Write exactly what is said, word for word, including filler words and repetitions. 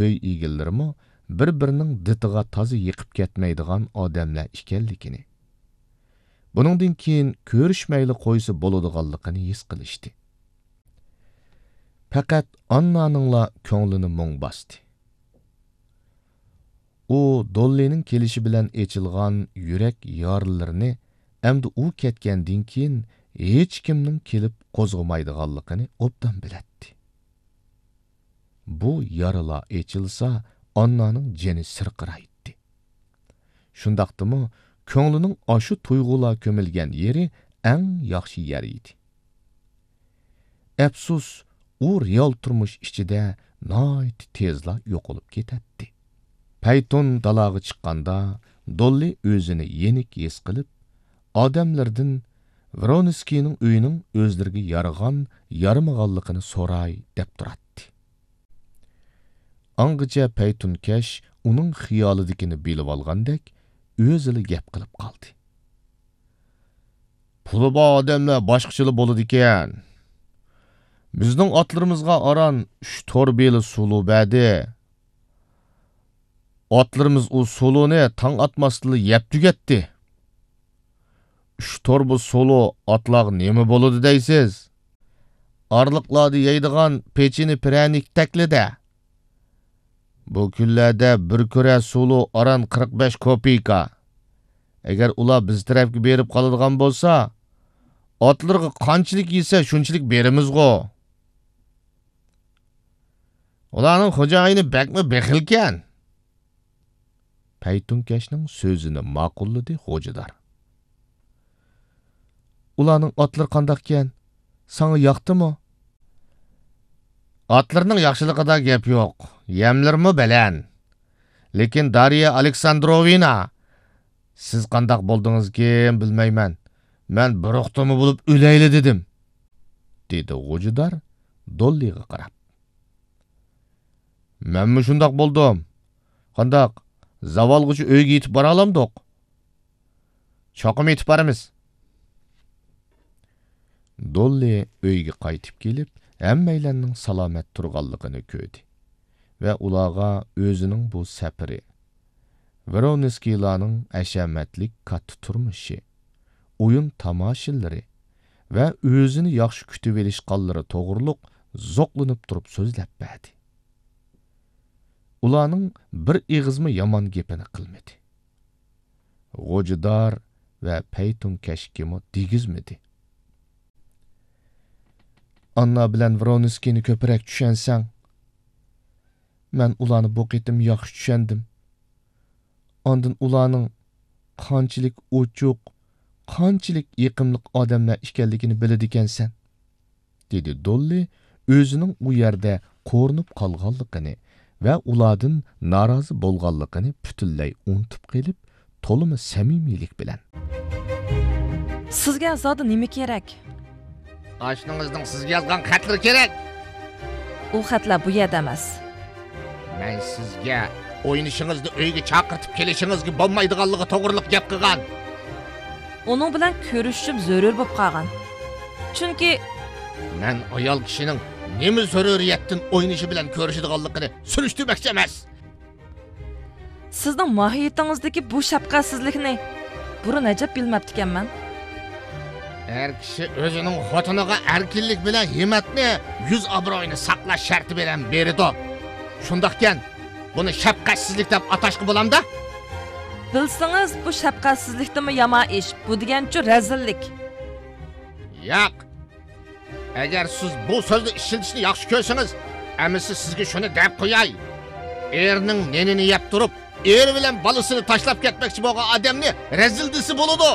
ئۆي ئىگىلىرىمۇ بىر-بىرىنىڭ دىتىغا تازا يېقىپ كەتمەيدىغان ئادەملەر ئىكەنلىكىنى، بۇنىڭدىن كېيىن كۆرۈشمەيلا قويسا بولىدىغانلىقىنى ھېس قىلىشتى. پەقەت ئاننانىڭلا كۆڭلىنى مۇڭ باستى. ئۇ دوللىنىڭ كېلىشى بىلەن ئېچىلغان يۈرەك يارىلىرىنى ئەمدى ئۇ كەتكەندىن كېيىن ھېچكىمنىڭ كېلىپ قوزغىمايدىغانلىقىنى ئوبدان بىلەتتى. بۇ يارىلار ئېچىلسا، ئاننانىڭ جېنى سىرقىرايتتى. شۇنداقتىمۇ، كۆڭلىنىڭ ئاشۇ تۇيغۇلار كۆمۈلگەن يېرى ئەڭ ياخشى يەر ئىدى. ئەپسۇس، ئۇ رېئال تۇرمۇش ئىچىدە ناھايىتى تېزلا يوقىلىپ كېتەتتى. پەيتۇن دالاغا چىققاندا، دوللى ئۆزىنى يېنىك ھېس قىلىپ، ئادەملىرىدىن ۋرونسكىينىڭ ئۆيىنىڭ ئۆزلىرىگە يارىغان، يارىمىغانلىقىنى سوراي دەپ تۇراتتى. ئاڭغىچە پەيتۇنكەش ئۇنىڭ خىيالىدىكىنى بىلىۋالغاندەك، ئۆزىلا گەپ قىلىپ قالدى. پۇلى بار ئادەملەر باشقىچىلا بولىدىكەن. بىزنىڭ ئاتلىرىمىزغا ئاران ئۈچ تور بېلى سۇلۇ بەردى. ئاتلىرىمىز ئۇ سۇلۇنى تاڭ ئاتماستىنلا يەپ تۈگەتتى. ئۈچ تور بۇ سۇلۇ ئاتلارغا نېمە بولىدۇ دەيسىز؟ ئارىلىقلاردا يەيدىغان پېچىنە پىرەنىكتەكلىدە. بۇ كۈنلەردە بىر كۈرە سۇلۇ ئاران قىرىق بەش كوپېيكا. ئەگەر ئۇلار بىز تەرەپكە بېرىپ قالىدىغان بولسا، ئاتلىرىغا قانچىلىك يېسە، شۇنچىلىك بېرىمىزغۇ. ئۇلارنىڭ خوجايىنى بەكمۇ بېخىلكەن. پەيتۇنكەشنىڭ سۆزىنى ماقۇللىدى غوجىدار. ئۇلارنىڭ ئاتلىرى قانداقكەن؟ ساڭا ياقتىمۇ؟ ئاتلىرىنىڭ ياخشىلىقىدا گەپ يوق، يەملىرىمۇ بەلەن. لېكىن دارىيە ئالېكساندروۋنا، سىز قانداق بولدىڭىزكىن بىلمەيمەن، مەن بىر ئوقتىمۇ بولۇپ ئۆلەيلى دېدىم، دېدى غوجىدار دوللىغا قاراپ. مەنمۇ شۇنداق بولدۇم. قانداق، زاۋالغىچە ئۆيگە يېتىپ بارالامدۇق؟ چوقۇم يېتىپ بارىمىز. دوللى ئۆيگە قايتىپ كېلىپ، ھەممەيلەننىڭ سالامەت تۇرغانلىقىنى كۆردى ۋە ئۇلارغا ئۆزىنىڭ بۇ سەپىرى، ۋرونسكىيلارنىڭ ھەشەمەتلىك كاتتا تۇرمۇشى، ئويۇن تاماشىلىرى ۋە ئۆزىنى ياخشى كۈتۈۋېلىشقانلىرى توغرۇلۇق زوقلىنىپ تۇرۇپ سۆزلەپ بەردى. ئۇلارنىڭ بىر ئېغىزمۇ يامان گېپىنى قىلمىدى. غوجىدار ۋە پەيتۇنكەشكىمۇ دېگۈزمىدى. ئاننا بىلەن ۋرونسكىينى كۆپرەك چۈشەنسەڭ، مەن ئۇلارنى بۇ قېتىم ياخشى چۈشەندىم. ئاندىن ئۇلارنىڭ قانچىلىك ئوچۇق، قانچىلىك يېقىملىق ئادەملەر ئىكەنلىكىنى بىلىدىكەنسەن، دېدى دوللى ئۆزىنىڭ ئۇ يەردە قورۇنۇپ قالغانلىقىنى ۋە ئۇلاردىن نارازى بولغانلىقىنى پۈتۈنلەي ئۇنتۇپ قېلىپ، تولىمۇ سەمىمىيلىك بىلەن. سىزگە زادى نېمە كېرەك؟ ئاشنىڭىزنىڭ سىزگە يازغان خەتلىرى كېرەك. ئۇ خەتلەر بۇ يەردە ئەمەس. مەن سىزگە ئوينىشىڭىزنى ئۆيگە چاقىرتىپ كېلىشىڭىزگە بولمايدىغانلىقى توغرىلىق گەپ قىلغان. ئۇنىڭ بىلەن كۆرۈشۈشۈم زۆرۈر بولۇپ قالغان. چۈنكى مەن ئايال كىشىنىڭ نېمە زۆرۈرىيەتتىن ئوينىشى بىلەن كۆرۈشىدىغانلىقىنى سۈرۈشتۈرمەكچى ئەمەس. سىزنىڭ ماھىيىتىڭىزدىكى بۇ شەپقەتسىزلىكنى بۇرۇن ئەجەب بىلمەپتىكەنمەن. ئەر كىشى ئۆزىنىڭ خوتۇنىغا ئەركىنلىك بىلەن ھىممەتنى، يۈز ئابرۇيىنى ساقلاش شەرتى بىلەن بېرىدۇ. شۇنداقكەن، بۇنى شەپقەتسىزلىك دەپ ئاتاشقا بولامدا؟ بىلسىڭىز، بۇ شەپقەتسىزلىكتىنمۇ يامان ئىش، بۇ دېگەنچۇ رەزىللىك. ياق. ئەگەر سىز بۇ سۆزنى ئىشلىتىشنى ياخشى كۆرسىڭىز، ئەمىسە سىزگە شۇنى دەپ قوياي. ئېرىنىڭ نېنىنى يەپ تۇرۇپ، ئېرى بىلەن بالىسىنى تاشلاپ كەتمەكچى بولغان ئادەمنى رەزىل دېسە بولىدۇ.